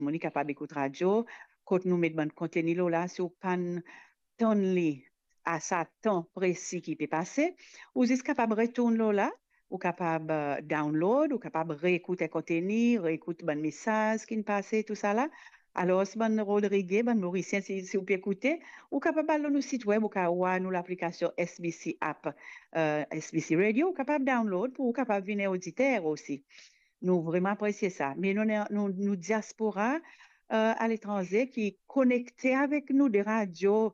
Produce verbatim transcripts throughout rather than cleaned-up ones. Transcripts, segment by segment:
Dimoun ki kapab ekout radio, kot nou met bann konteni lor la, si ou pa'nn tann li a sa tan presi ki pe pase, ou zis kapab retourn lor la, ou kapab, eh, download, ou kapab reekout enn konteni, reekout bann mesaz ki'nn pase, tousala. Alor, bann Rodrige, bann Morisien, si, si ou pe ekoute, ou kapab al lor nou sit web, ou kapav war nou laplikasion S B C app, eh, S B C Radio, ou kapab download pou ou kapab vinn oditer osi. Nou vreman apresie sa. Me nou, nou, nou diaspora, eh, aletranze ki konekte avek nou de radio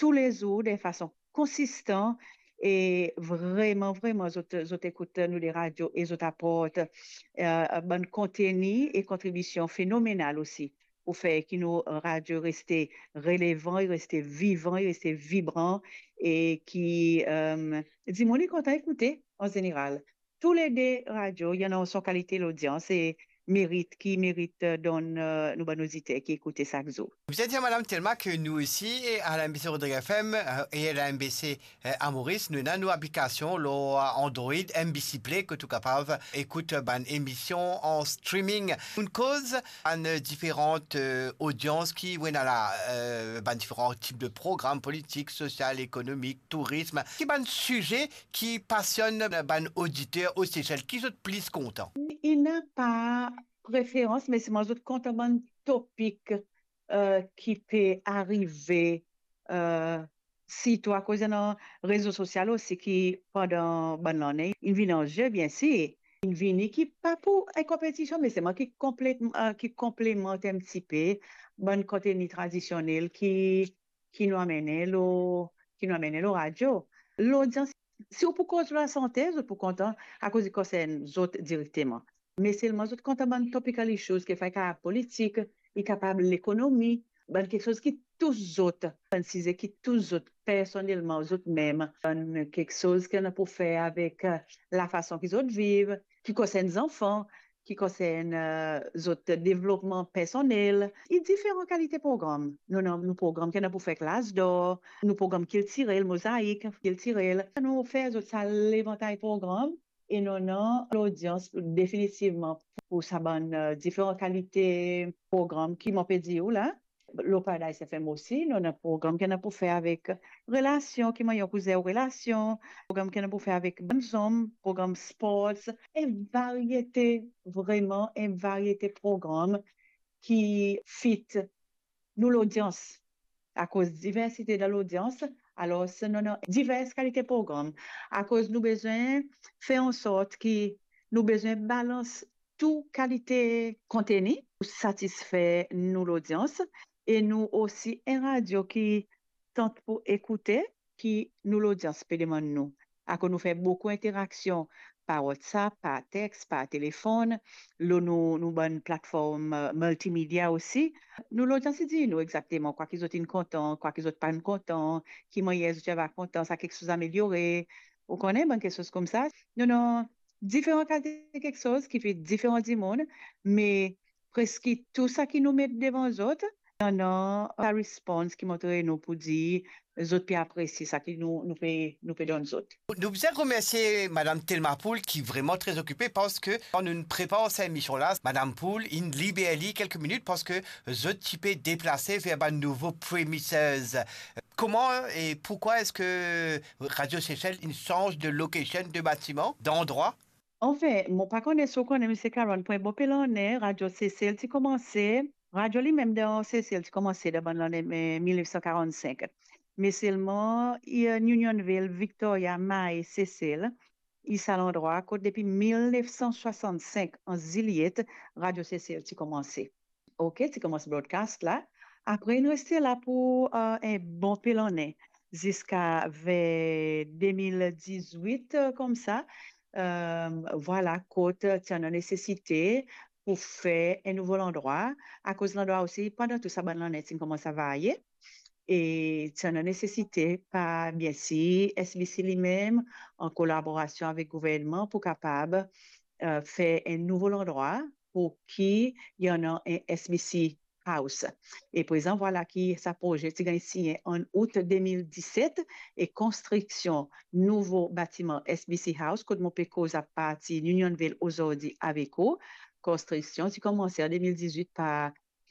toulezour de fason konsistan e vreman, vreman, zot, zot ekout nou de radio e zot aport, eh, bann konteni e kontribision fenomenal osi pou fer ki nou radio reste relevan, e reste vivan, e reste vibran e ki, eh, dimoun kontan ekoute an zeneral. Toulede radio, li ena son kalite lodians e merit, ki merit, eh, donn, eh, nou bann oditer ki ekoute sak zour. Bizin dir, Madam Thelma, ke nou isi, eh, a la M B C Rodrigues F M, eh, e a la M B C, eh, a Moris, nou ena nou aplikasion lor, eh, Android, M B C Play, kot ou kapav ekout bann emision an streaming. Nou koz bann diferan, eh, odians ki, ou ena la, eh, bann diferan tip de program politik, sosial, ekonomik, tourism. Ki bann size ki pasionn bann oditer o Sesel, ki zot plis kontan? Ena pa preferans, me selman zot kontan bann topik, eh, ki pe arive, eh, sirtou akoz ena rezo sosial osi ki pandan bann lane inn vinn an ze, biensir. Inn vini ki pa pou enn konpetision, me selman ki konplet-, eh, ki konplemant enn tipe bann konteni tradisionel ki, ki nou amene lor, ki nou amene lor radio. Lodians, si ou pou koz lor lasante, zot pou kontan akoz li konsern zot direkteman. Me selman zot kontan bann topical issues, ki fer kapav politik, li kapav lekonomi, bann kiksoz ki tous zot, bann size ki tous zot personelman, zot mem, bann kiksoz ki ena pou fer avek, eh, lafason ki zot viv, ki konsern zanfan, ki konsern, eh, zot devlopman personel. E diferan kalite program. Nou ena nou program ki ena pou fer klas dor, nou program kiltirel, mozaik kiltirel. Nou fer zot sa levantay program e nou ena lodians definitivman pou sa bann, eh, diferan kalite program ki mo pe dir ou la. Lor Paradise F M osi, nou ena program ki ena pou fer avek relasion, ki mannyer ou pou zer relasion, program ki ena pou fer avek bann zom, program sports, enn variete, vreman enn variete program ki fit nou lodians. Akoz diversite dan lodians, alor nou ena divers kalite program. Akoz nou bizin fer ansort ki nou bizin balans tou kalite konteni pou satisfer nou lodians, e nou osi enn radio ki tant pou ekoute ki nou lodians pe demann nou. Akoz nou fer boukou interaksion par WhatsApp, par text, par telefonn, lor nou, nou bann platform, eh, miltimedia osi. Nou lodians dir nou exakteman kwa ki zot inn kontan, kwa ki zot pa'nn kontan, ki mannyer zot ti ava kontan sa kiksoz ameliore, ou kone, bann kiksoz koumsa. Nou ena diferan kalite kiksoz ki fer diferan dimoun, me preski tou sa ki nou met devan zot, ena sa respons ki montre nou pou dir zot pe apresie sa ki nou, nou pe, nou pe donn zot. Nou bizin remersie Madam Thelma Pool ki vreman tre okipe, parski kan nou prepar sa emision la, Madam Pool inn liber li kelke minit parski zot ti pe deplase ver bann nouvo premises. Kouma e poukwa eski Radio Sesel inn sanz de location, de batiman, dandrwa? Anfin, mo pa kone si ou kone, Misie Caron, pou enn bon pe lane, Radio Sesel ti koumanse, radio limem dan Sesel ti koumanse dan bann lane, eh, mil nef san karann-sink. Me selman, i, eh, Unionville, Victoria, Mahé, Sesel, i sa landrwa kot depi mil nef san swasann-sink, an Zilyet, Radio Sesel ti koumanse. Ok, ti koumans broadcast la. Apre, inn reste la pou, eh, enn bon pe lane, ziska ver de mil dizwit, eh, koumsa. Eh, vwala, kot ti ena nesesite pou fer enn nouvo landrwa, akoz landrwa osi, pandan tou sa bann lane, ti koumans a varye. E ti ena nesesite par, biensir, S B C limem, an kolaborasion avek gouvernman, pou kapab, eh, fer enn nouvo landrwa pou ki ena enn S B C House. E prezan, vwala ki sa proze ti gagn sinyen an out de mil diset, e konstriksion nouvo batiman S B C House, kot mo pe koz apartir Unionville azordi avek ou, konstriksion ti koumanse an de mil dizwit par